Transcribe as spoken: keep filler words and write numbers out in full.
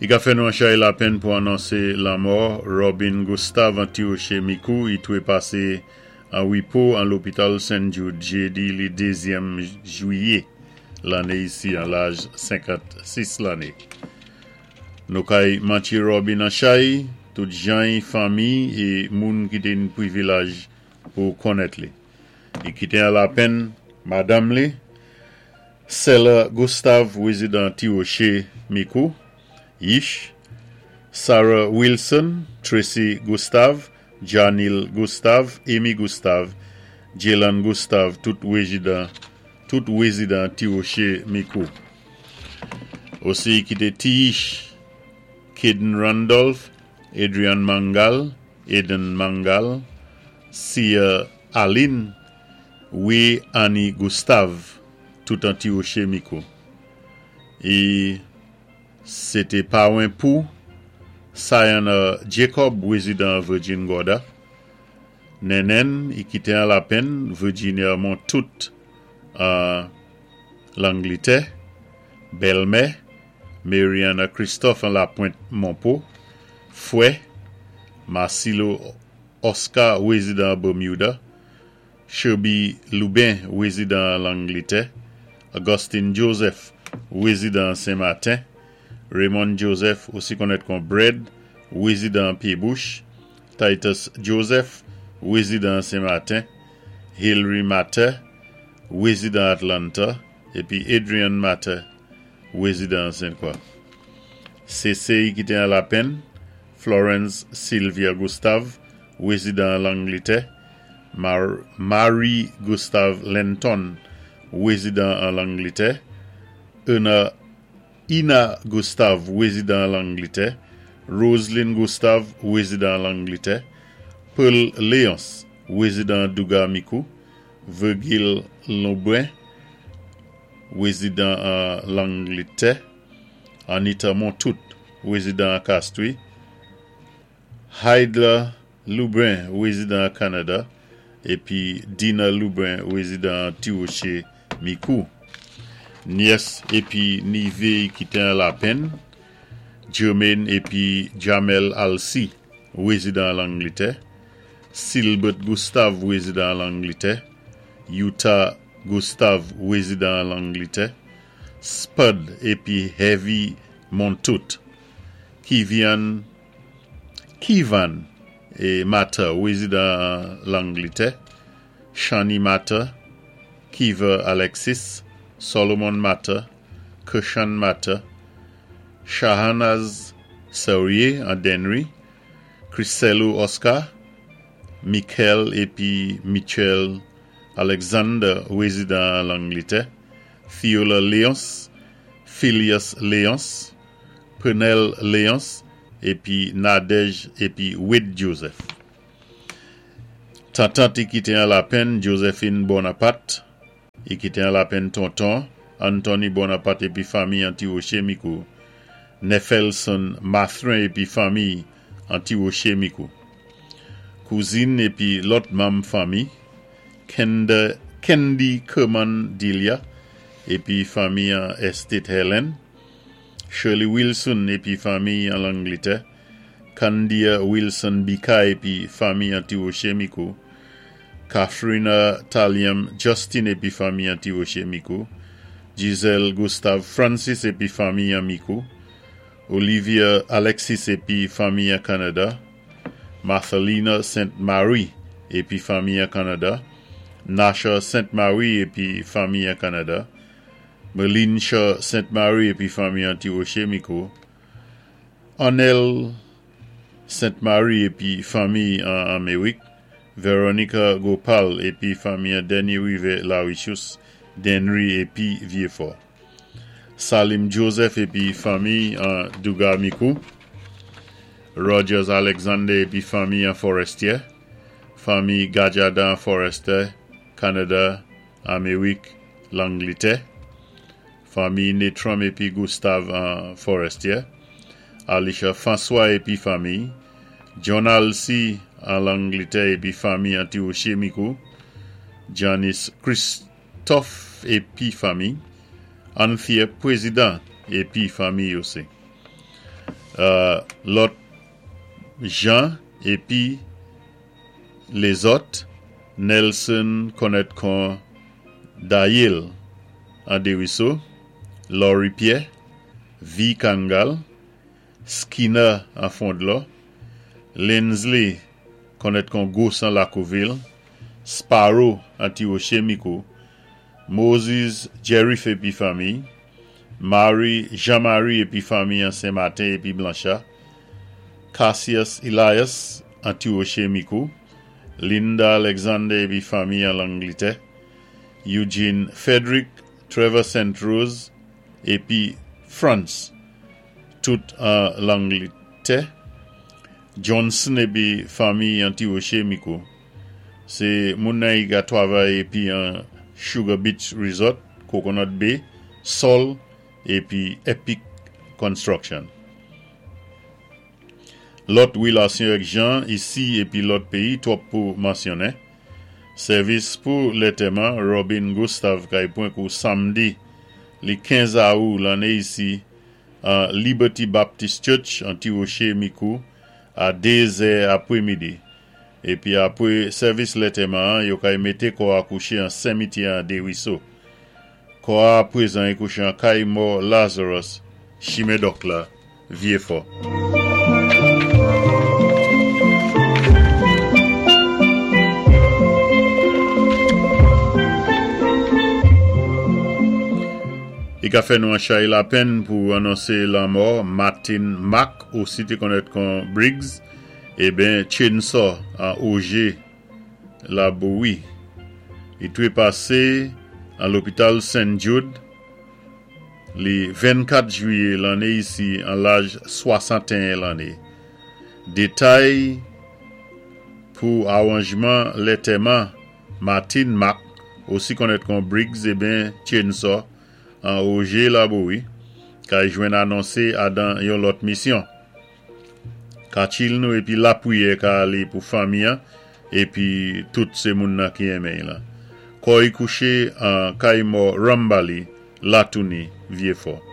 I ka fè nou an chay lapenn pou anonsé lanmò Robin Gustave an Ti-Woché Mikou, i twé pasé an wipo an lopital Saint Jude jédi li dézyèm jwiyé lanné isi an laj senkant-sis lanné. Nou kay mantjé Robin an chay, tout jany, fanmi é moun ki té ni pwivilaj pou konnèt li. I kité an lapenn madanm li, Sela Gustave, wézidan Ti-Woché Mikou, Yish, Sarah Wilson, Tracy Gustave, Janil Gustave, Amy Gustave, Jalen Gustave, tout wézidan, tout wézidan Ti-Woché Mikou. Osi i kité Tiyish, Caden Randolph, Adrian Mangal, Aiden Mangal, Sia Aline, Wé Annie Gustave, tout an Ti-Woché Mikou. É sé té pawen pou Sayana Jacob, wézidan Virgin Gorda. Nènèn, i kité an lapenn, Virginia Montout an Langlitè. Bèlmè, Mariana Christophe an Lapointe Monpo. Fwè, Marcelo Oscar, wézidan Bermuda. Sherby Lubin, wézidan Langlitè. Augustine Joseph, wézidan Saint-Martin. Raymond Joseph, osi konnèt kon Bread, wézidan Pied-Bouche. Titus Joseph, wézidan Saint-Martin. Hillary Matter, wézidan Atlanta. Épi Adrian Matter, wézidan Sainte-Croix. Sésé i kité an lapenn, Florence Sylvia Gustave, wézidan Langlitè. Mar Marie Gustave Lenton, wézidan an Langlitè. Una Ina Gustave, wézidan Langlitè. Roslyn Gustave, wézidan Langlitè. Paul Léonce, wézidan Douga Mikou. Virgil Lobrin, wézidan an Langlitè. Anita Montout, wézidan Castries. Heidler Lubin, wézidan Kanada. Épi Dina Lubin, wézidan Ti-Woché Mikou. Nyès épi nivé i kité an lapenn. Jermaine épi Jamel Alcy, wézidan Langlitè. Silbert Gustave, wézidan Langlitè. Utah Gustave, wézidan Langlitè. Spud épi Heavy Montout. Kivian Kivan é Mata, wézidan Langlitè. Shani Mata, Kiva Alexis, Solomon Mata, Kershan Mata, Shahanaz Serrier an Dennery, Chriselo Oscar, Michael épi Michel Alexander, wézidan Langlitè, Theola Léonce, Phileas Léonce, Pernell Léonce, épi Nadège épi Wade Joseph. Tantant i kité an lapenn, Josephine Bonaparte, i kité an lapenn tonton, Anthony Bonaparte épi fanmi an Ti-Woché Mikou, Nefelson Mathrin épi fanmi an Ti-Woché Mikou. Kouzin épi lòt manm fanmi, Kenda, Kendi Kerman Delia épi fanmi an Estate Helen, Shirley Wilson épi fanmi an Langlitè, Candia Wilson Bika épi fanmi an Ti-Woché Mikou, Katharina Taliam Justin épi fanmi an Ti-Woché Mikou, Giselle Gustave Francis épi fanmi an Mikou, Olivia Alexis épi fanmi an Kanada, Marthelina Sainte Marie épi fanmi an Kanada, Nasha Sainte Marie épi fanmi an Kanada, Melinsha Sainte Marie épi fanmi an Ti-Woché Mikou, Onel Sainte Marie épi fanmi an Améwik, Veronica Gopal épi fanmi an Denny Rive Larichus, Denry épi Vieux-Fort. Salim Joseph épi fanmi an Douga Mikou, Rogers Alexander épi fanmi an Forestier, fanmi Gajada Forester, Kanada, Améwik, Langlitè, fanmi Netrom épi Gustave an Forestier, Alicia François épi fanmi, John Alcy an Langlitè épi fanmi an Ti-Woché Mikou, Janice Christophe épi fanmi, Anthea Président épi fanmi osi. Lòt Jean épi lézòt, Nelson konnèt kon Dayel an Desruisseaux, Laurie Pierre, V. Kangal, Skinner an Fondlo, Lindsley konnèt kon Gossan Lacouville, Sparrow an Ti-Rocher Micoud, Moses Jerry épi fanmi, Marie Jean-Marie épi fanmi an Saint-Martin épi Blanchard, Cassius Elias an Ti-Rocher Micoud, Linda Alexander épi fanmi an Langletè, Eugene Frederick, Trevor Saint Rose épi France, tout an Langletè, Johnson épi fanmi an Ti-Rocher Micoud. Sé moun nan i ka twavay épi an Sugar Beach Resort, Coconut Bay, Sol épi Epic Construction. Lòt wilasyon èk jan isi épi lòt péyi twòp pou mansyonnen. Sèvis pou lantèman Robin Gustave kay pwan kou samdi li kenz awou lanné isi an Liberty Baptist Church an Ti-Rocher Micoud a dé zè apwé midi. Épi apwé sèvis lantèman yo kay mété kò a kouché an simityè an Desruisseaux. Kò a pwézan i kouché an kay mò Lazarus, chimen Dòk la, Vieux-Fort. I ka fè nou an chay lapenn pou anonsé lanmò Martin Mack, osi té konnèt kon Briggs, eben Chainsaw an Auger Laboui. I twépasé an lopital Saint Jude li vennkat jwiyé lanné isi an laj swasantéen lanné. Détay pou awanjman lantèman Martin Mack, osi konnèt kon Briggs eben Chainsaw an Auger Laboui, kay jwenn anonsé adan yon lòt misyon. Katchil nou épi lapwiyè ka alé pou fanmi an, épi tout sé moun nan ki enmen la. Kò i kouché an kay mò Rambali, Latouni, Vieux-Fort.